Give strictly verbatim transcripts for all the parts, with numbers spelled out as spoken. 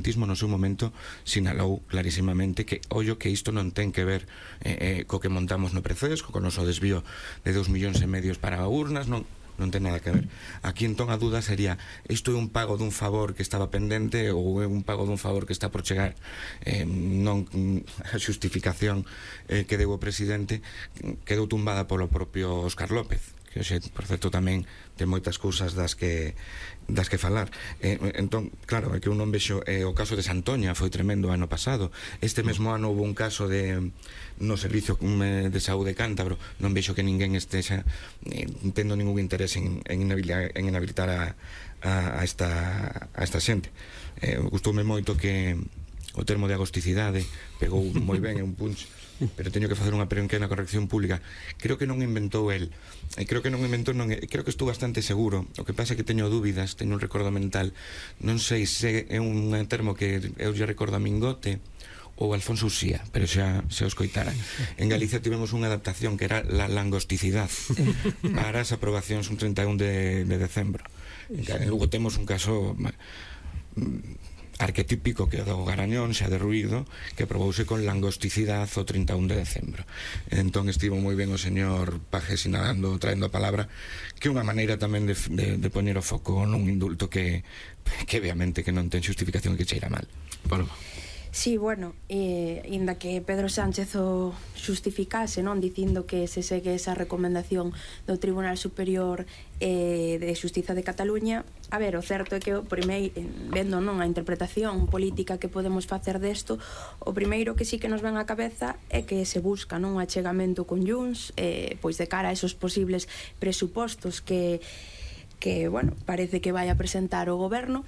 no seu momento sinalou clarísimamente que ollo que isto non ten que ver eh, eh, co que montamos no Precés, co noso desvío de dous millóns e medios para urnas, non non ten nada que ver. Aquí entón a duda sería, isto é un pago dun favor que estaba pendente ou é un pago dun favor que está por chegar? Eh, non a xustificación eh, que deu o presidente quedou tumbada polo propio Óscar López, que hoxe, por certo, tamén ten moitas cousas das que das que falar. Eh, entón, claro, é que eu non vexo eh, o caso de Santoña foi tremendo ano pasado. Este mesmo ano houve un caso de no servicio de saúde cántabro. Non vexo que ninguén estexa eh, tendo ningún interés en, en, inhabilitar, en inhabilitar a, a, a, esta, a esta xente. Eh, gustoume moito que o termo de agosticidade pegou moi ben, é un punch, pero teño que facer unha pequena corrección pública. Creo que non inventou el, creo que non inventou, non, creo que estou bastante seguro. O que pasa é que teño dúbidas, teño un recordo mental, non sei se é un termo que eu lle recordo a Mingote ou Alfonso Uxía, pero xa se os coitara. En Galicia tivemos unha adaptación que era la langosticidade para as aprobacións un treinta e un de, de decembro. En Lugo temos un caso arquetípico que é do Garañón, xa derruído, que aprobouse con langosticidade o trinta e un de decembro. Entón estivo moi ben o señor Paje sinalando, traendo a palabra, que é unha maneira tamén de, de, de poñer o foco nun indulto que, que obviamente que non ten xustificación e que cheira mal. Paloma. Sí, bueno, eh, inda que Pedro Sánchez o xustificase, non, dicindo que se segue esa recomendación do Tribunal Superior eh, de Xustiza de Cataluña, a ver, o certo é que o primeiro, vendo non a interpretación política que podemos facer desto, o primeiro que sí que nos ven á cabeza é que se busca non un achegamento con Junts, eh, pois de cara a esos posibles presupostos que que, bueno, parece que vai a presentar o goberno,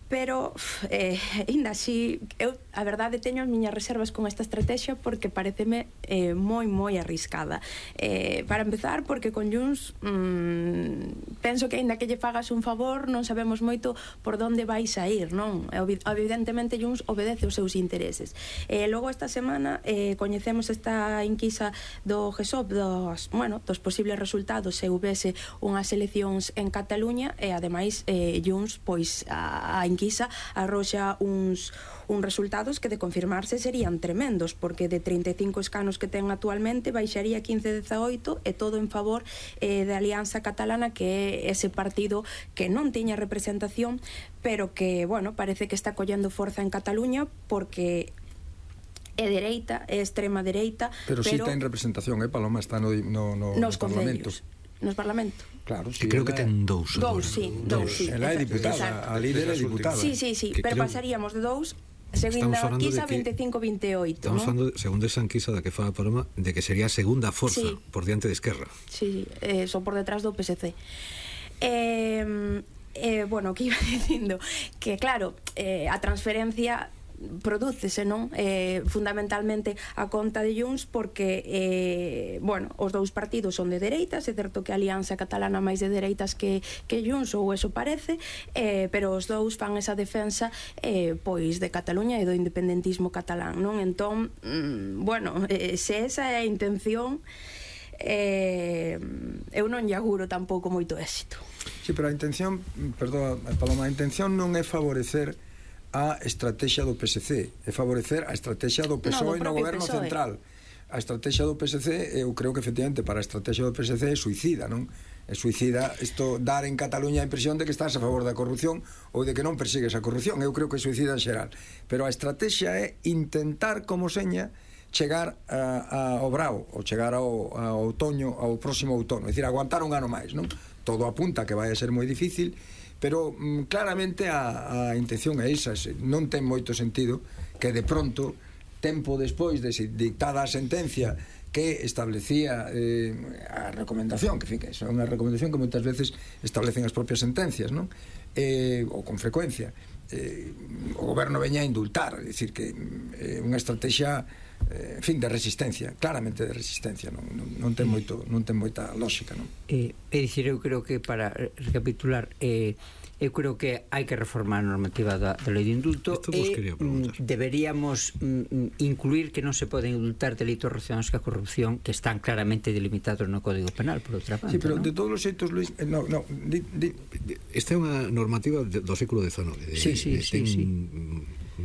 pero eh, ainda así eu a verdade teño as miñas reservas con esta estrategia porque pareceme eh, moi moi arriscada, eh, para empezar porque con Junts mmm, penso que aínda que lle fagas un favor non sabemos moito por onde vais a ir, non? Evidentemente Junts obedece os seus intereses. Eh, logo esta semana eh, coñecemos esta inquisa do G E S O P dos, bueno, dos posibles resultados se houvese unhas eleccións en Cataluña e ademais eh, Junts pois a, a inquisa arroxa uns, uns resultados que de confirmarse serían tremendos, porque de trinta e cinco escanos que ten actualmente baixaría quince a dezaoito e todo en favor eh, de Alianza Catalana, que é ese partido que non tiña representación pero que, bueno, parece que está collendo forza en Cataluña porque é dereita, é extrema dereita, pero, pero si ten representación, eh, Paloma, está no, no, no, nos no Parlamento. Nos Parlamento. Claro, sí, creo que ten dous. Dous, sí, dous, sí. Ela é diputada, a líder é diputada. Sí, sí, sí, pero pasaríamos de dous segunda enquisa veinticinco a veintioito, estamos falando, según esa enquisa da que fala Paloma, de que sería a segunda forza sí. por diante de Esquerra. Sí, eh, son por detrás do P S C. Eh, eh, bueno, que iba dicindo que claro, eh, a transferencia prodúcese, non? Eh, fundamentalmente a conta de Junts porque eh, bueno, os dous partidos son de dereitas, é certo que a Alianza Catalana máis de dereitas que, que Junts, ou eso parece, eh, pero os dous fan esa defensa eh, pois de Cataluña e do independentismo catalán, non? Entón, mm, bueno, eh, se esa é a intención, eh, eu non lle auguro tampouco moito éxito. Sí, pero a intención, perdón, Paloma, a intención non é favorecer a estrategia do P S C, é favorecer a estrategia do P S O E no, no goberno P S O E central. A estrategia do P S C, eu creo que efectivamente para a estrategia do P S C é suicida, non? É suicida isto, dar en Cataluña a impresión de que estás a favor da corrupción ou de que non persigues a corrupción. Eu creo que é suicida en xeral, pero a estrategia é intentar como seña chegar a, a, ao brao, ou chegar ao, ao outoño, ao próximo outono, é dicir, aguantar un ano máis, non? Todo apunta que vai a ser moi difícil, pero mm, claramente a, a intención é esa, non ten moito sentido que de pronto, tempo despois de dictada a sentencia que establecía eh, a recomendación, que fica, é unha recomendación que moitas veces establecen as propias sentencias, non? Eh, ou con frecuencia eh, o goberno veña a indultar, é dicir que é eh, unha estrategia eh, en fin, de resistencia, claramente de resistencia, non, non, non ten moito, non ten moita lógica, non? Eh, é dicir, eu creo que para recapitular, eh, eu creo que hai que reformar a normativa da, da lei de indulto e mm, deberíamos mm, incluir que non se poden indultar delitos relacionados ca corrupción que están claramente delimitados no Código Penal, por outra parte. Sí, pero ¿no? de todos os xeitos, Luis, eh, no, no, di, di. Esta é unha normativa do século dezanove. Sí, sí, sí, ten sí.